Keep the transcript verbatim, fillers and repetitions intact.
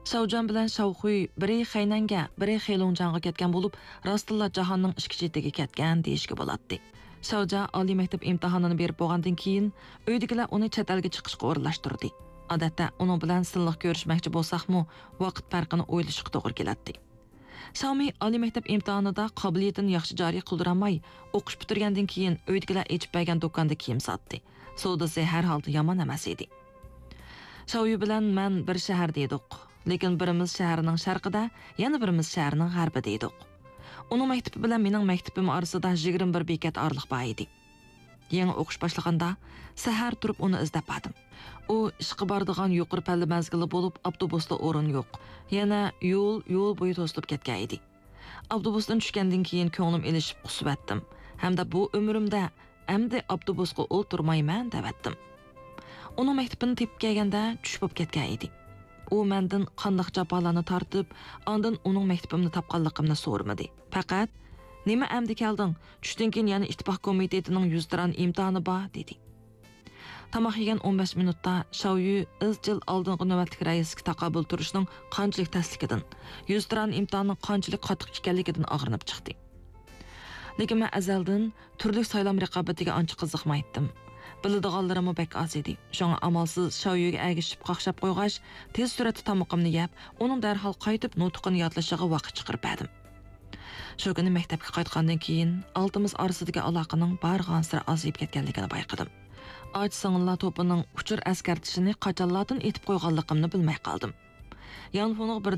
شاۋجيەن بىلەن شاۋخۈي بىرى خەينەنگە، بىرى خېلۇڭجياڭغا كەتكەن بولۇپ، راستتىنلا جاھاننىڭ ئىچكى چېتىگە كەتكەن دېيىشكە بولاتتى. شاۋجيەن ئالىي مەكتەپ ئىمتىھانىنى بېرىپ بولغاندىن كېيىن، ئۆيدىكىلەر ئۇنى چەت ئەلگە چىقىشقا ئورۇنلاشتۇردى. ئادەتتە ئۇنىڭ بىلەن سىنلىق كۆرۈشمەكچى بولساقمۇ، ۋاقىت پەرقىنى ئويلىشىشقا توغرا كېلەتتى. شاۋمى ئالىي مەكتەپ ئىمتىھانىدا قابىلىيىتىنى ياخشى جارى قىلدۇرالماي، ئوقۇش پۈتتۈرگەندىن كېيىن ئۆيدىكىلەر ئېچىپ بەرگەن دۇكاندا كىيىم ساتتى. سودىسى ھەر ھالدا يامان ئەمەس ئىدى. شاۋيۈ بىلەن مەن بىر شەھەردە ئىدۇق، لېكىن بىرىمىز شەھەرنىڭ شەرقىدە، يەنە بىرىمىز شەھەرنىڭ غەربىدە ئىدۇق. ئۇنىڭ مەكتىپى بىلەن مېنىڭ مەكتىپىم ئارىسىدا يىگىرمە بىر بېكەت ئارىلىق بار ئىدى. يېڭى ئوقۇش باشلىغاندا، سەھەر تۇرۇپ ئۇنى ئىزدەپ باردىم. ئۇ ئىشقا بارىدىغان يۇقىرى پەللە مەزگىلى بولۇپ، ئاپتوبۇستا ئورۇن يوق. يەنە يول، يول بويى توسۇلۇپ كەتكەن ئىدى. ئاپتوبۇستىن چۈشكەندىن كېيىن كۆڭلۈم ئېلىشىپ قۇسۇۋەتتىم ھەمدە بۇ ئۆمرۈمدە ئەمدى ئاپتوبۇسقا ئولتۇرمايمەن دەۋەتتىم. ئۇنىڭ مەكتىپىنى تېپىپ كەلگەندە چۈش بولۇپ كەتكەن ئىدى. ئۇ مەندىن قانداق جاپالارنى تارتىپ، ئاندىن ئۇنىڭ مەكتىپىمنى تاپقانلىقىمنى سورىمىدى. پەقەت، «نېمە ئەمدى كەلدىڭ؟ چۈشتىن كېيىن يەنە ئىتتىپاق كومىتېتىنىڭ يۈزتۇرا ئىمتىھانى بار» دېدى. تاماق يېگەن ئون بەش مىنۇتتا شاۋيۈ ئىزچىل ئالدىنقى نۆۋەتلىك رەئىسكە تاقابىل تۇرۇشنىڭ قانچىلىك تەسلىكىدىن، يۈزتۇرا ئىمتىھاننىڭ قانچىلىك قاتتىق ئىكەنلىكىدىن ئاغرىنىپ چىقتى. لېكىن مەن ئەزەلدىن تۈرلۈك سايلام رىقابىتىگە ئانچە قىزىقمايتتىم. بىلىدىغانلىرىممۇ بەك ئاز ئىدى. شۇڭا ئامالسىز شاۋيۈگە ئەگىشىپ قاقشاپ قويغاچ، تېز سۈرئەتتە تامىقىمنى يەپ، ئۇنىڭ دەرھال قايتىپ نۇتقىنى يادلىشىغا ۋاقىت چىقىرىپ بەردىم. شۇ كۈنى مەكتەپكە قايتقاندىن كېيىن، ئالتىمىز ئارىسىدىكى ئالاقىنىڭ بارغانسېرى ئازىيىپ كەتكەنلىكىنى بايقىدىم. ئاچا سىڭىللار توپىنىڭ ئۇچۇر ئەسكەرتىشىنى قاچانلاردىن ئېيتىپ قويغانلىقىمنى بىلمەي قالدىم. يانفۇنىڭ بىر